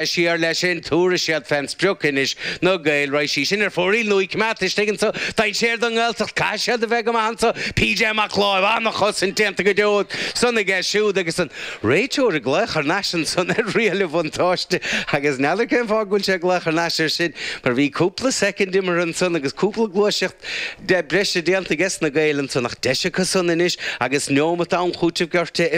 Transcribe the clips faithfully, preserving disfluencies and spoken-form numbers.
Siar leis sin, tabharfaidh siad fén sprioc anois, na Gaeil. Raghaidh sí sin ar fóraoil nó í coimeádta istigh anso. Dainséar don nGaeltacht, caithfidh siad a bheith go maith anso. P J Mac Láimh, an-chosaint déanta go deo san aige siúd agus an réiteoir ag glaoch thar n-ais ansan ar riail an bhuntáiste agus n'fheadar cén fáth go bhfuil sé ag glaoch thar n-ais air sin mar bhí cúpla soicind imeartha ansan agus cúpla gluaiseacht de breise déanta ages na Gaeil ansan ach deis acu san anois agus neomat am chúitimh gortaithe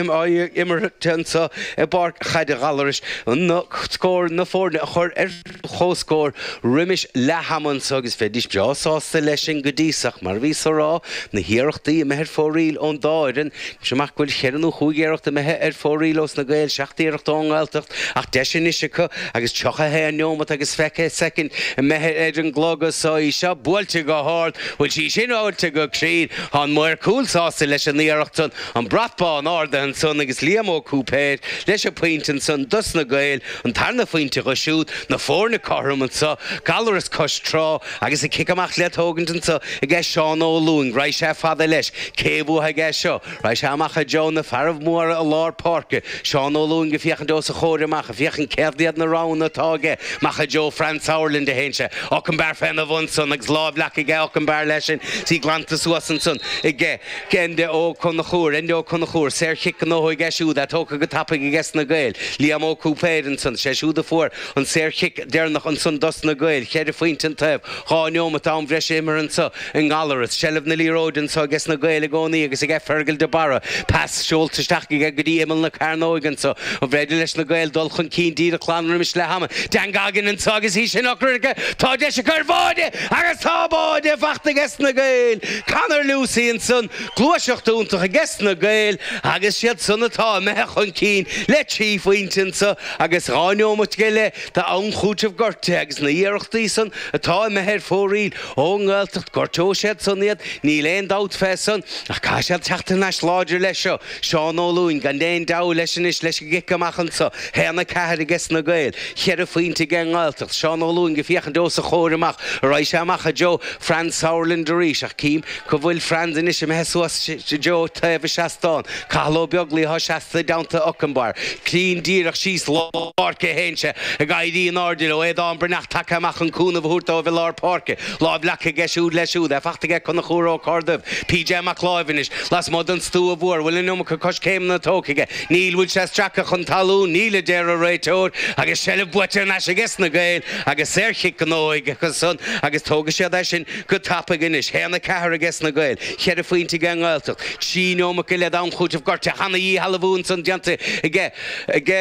imeartha anso i bPáirc Chaide Ghallarais. Na scór na foirne a chur ar chomhscór roimis leath ama anso agus bheidís breá sásta leis sin go dtí so ach mar a bhíos a rá na hiarrachtaí imithe ar fóraoil ón dá fhoireann sé amach go bhfuil cheithre nó chúig iarracht imithe ar fóraoil ós na Gaeil seacht iarracht ón nGaeltacht ach deis anois acu agus tríocha haon neomat agus fiche soicind imithe ar an gclog so í seo buailte go hard bhfuil sí sin buailte go cruinn tá an maor cúil sásta leis an iarracht san an brat bán ardaithe ansan agus Liam Ó Cúipéir leis an pointe ansan dos na Gaeil an tarna phointe acu siúd na foirne cothrom anso Gallaras cois trá agus a cic amach le tógaint anso aige Seán Ó Lúing raghaidh sé fada leis cé bhuafaidh é seo raghaidh sé amach i dtreo na fearaibh móra i lár páirce Seán Ó Lúing ag féachaint os a chomhair amach ag féachaint céard iad na roghanna atá aige amach i dtreo Fran Sauerland a théann sé Ockenbar féna bhun san agus lámh leac aige Ockenbar leis sin sí glanta suas ansan aige Enda Ó Conchúir Enda Ó Conchúir saorchic gnóthaithe aige siúd é tógtha go tapaidh aige na Gaeil Liam Ó Cúipéir ansan sé siúd a fuair an saorchic deireanach ansan dos na Gaeil ceithre phointe an taobh dhá neomat am bhreise imeartha anso i nGallaras seilbh na liathróide anso aige na Gaeil i gcónaí agus aige Fergal de Barra pas seolta isteach aige go dtí imeall na cearnóige anso an bhféidir leis na Gaeil dul chun cinn díreach glan roimis leath ama Dan Goggin anso agus í sin ocra tá deis acu ar bháide agus tá báide fachta aige na Gaeil Conor Lucy ansan gluaiseacht iontach aige na Gaeil agus siad san atá imithe chun cinn le trí phointe anso agus dhá neomat go leith d'am chúitimh gortaithe agus na hiarrachtaí san atá imithe ar fóraoil ón nGaeltacht gortóidh siad san iad níl aon dabht fé san ach caithfidh siad teacht thar n-ais láidir leis seo Seán Ó Lúing gan aon deabhadh leis anois leis an gcic amach anso haon a ceathair aige na Gaeil cheithre phointe ag an nGaeltacht Seán Ó Lúing ag féachaint os a chomhair amach raghaidh sé amach i dtreo Franz Sauerland arís ach cím go bhfuil Franz anois imithe suas i dtreo taobh an seastáin Cathal Ó Beaglaoich atá seasta i dteannta Ockenbar cruinn díreach síos lár páirce théann sé ag éirí in airde leo Aodán Breathnach tagtha amach an cúnamh a thabhairt dóibh i lár páirce lámh leac aige siúd leis siúd é fachta aige Conchúr Ó Corrduibh P J Mac Láimh anois lasmuigh den stua mhór bhfuil an iomarca coiscéimeanna tógtha aige níl bhfuil sé stractha chun talún níl a deir an réiteoir agus seilbh buaite thar n-ais aige na Gaeil agus saorchic gnóthaithe acu san agus tógfaidh siad é sin go tapaidh anois haon a ceathair aige na Gaeil cheithre phointe ag an nGaeltacht trí neomat go leith d'am chúitimh gortaithe ana-dhíshealbhú ansan déanta aige aige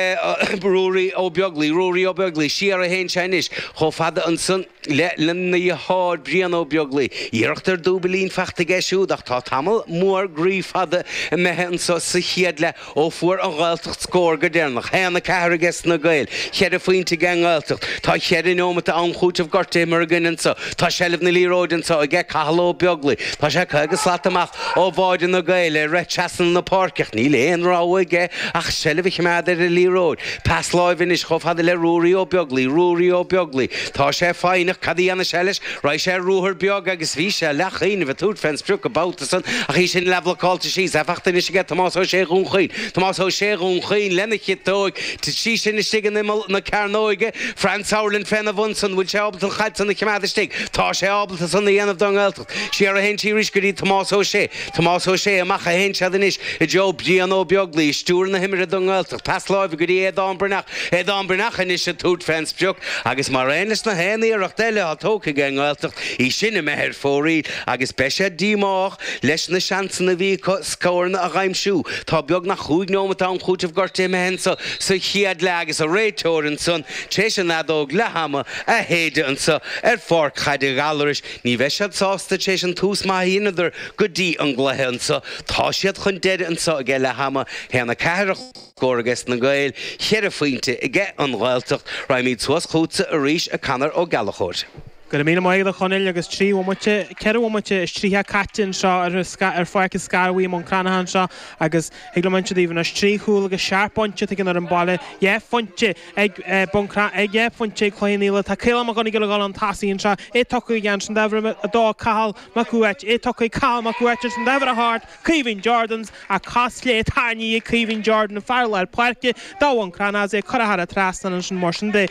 Ruairí Ó Beaglaoich Ruairí Ó Beaglaoich siar a théann sé anois chomh fada ansan le lena dheartháir Brian Ó Beaglaoich iarracht ar dúbailín fachta aige siúd ach tá tamall mór groí fada imithe anso sa chéad leath ó fuair an Ghaeltacht scór go deireanach haon a ceathair aige na Gaeil cheithre phointe ag an nGaeltacht tá cheithre neomat am chúitimh gortaithe imeartha againn anso tá seilbh na liathróide anso aige Cathal Ó Beaglaoich tá sé caoga slat amach ó bháide na Gaeil ar rith trasna na páirce níl aon rogha aige ach seilbh a choimeád ar an liathróid pas láimhe anois chomh fada le Ruairí Ó Beaglaoich Ruairí Ó Beaglaoich tá sé foighneach cad a dhéanfaidh sé leis raghaidh sé ruathar beag agus bhí sé leathchuimhneamh ag tabhairt fén sprioc an babhta san ach í sin leathbhlocáilte síos é fachta anois aige Tomás Ó Sé Dhún Chaoin Tomás Ó Sé Dhún Chaoin lena chiotóig sí sin istigh in imeall na cearnóige Franz Sauerland féna bhun san bhfuil sé ábalta an chaid san a choimeád istigh tá sé ábalta san a dhéanamh don nGaeltacht siar a théann sí arís go dtí Tomás Ó Sé Tomás Ó Sé amach a théann siad anois i dtreo Brian Ó Beaglaoich stiúir na himeartha don nGaeltacht pas láimhe go dtí Aodán Breathnach Aodán Breathnach anois ag tabhairt fén sprioc agus mar aon leis na haon iarracht eile atá tógtha ag an nGaeltacht í sin imithe ar fóraoil agus beidh sé díomách leis na seansanna a bhí acu scóranna a aimsiú Tá beagnach cúig neomat am chúitimh gortaithe imithe anso sa chéad leath agus an réiteoir ansan tar éis an fheadóg leath ama a shéideadh anso ar Pháirc Chaide Ghallarais ní bheidh siad sásta tar éis an tús maith a dheineadar go dtí an gcluiche anso tá siad chun deireadh anso aige leath ama haon a ceathair scór aige na Gaeil cheithre phointe aige an Ghaeltacht Raghaimid suas chugatsa arís a Conor Ó Gallchóir. Go raibh míle maith agat a Chonaill agus trí bhomaite ceithre bhomaite is tríocha caite anseo ar ar Pháirc an Scairbhigh i mBun Cranncha anseo agus ag le muinte daoibh anois trí chúl agus seacht bpointe ag an fhoireann baile dhá phointe ag Bun ag dhá phointe ag Cloich Cheann Fhaola tá Caolán Mac Gonigal ag dul chun tosaigh anseo é tugtha aige ansin d'uimhir a dó Cathal Mac Uait é tugtha ag Cathal Mac Uait ansin d'uimhir a hocht Caoimhín Jordans a cos chlé tarraingthe ag Caoimhín Jordan fear lár páirce do Bhun Cranncha é curtha thar an trasnán ansin mar sin de.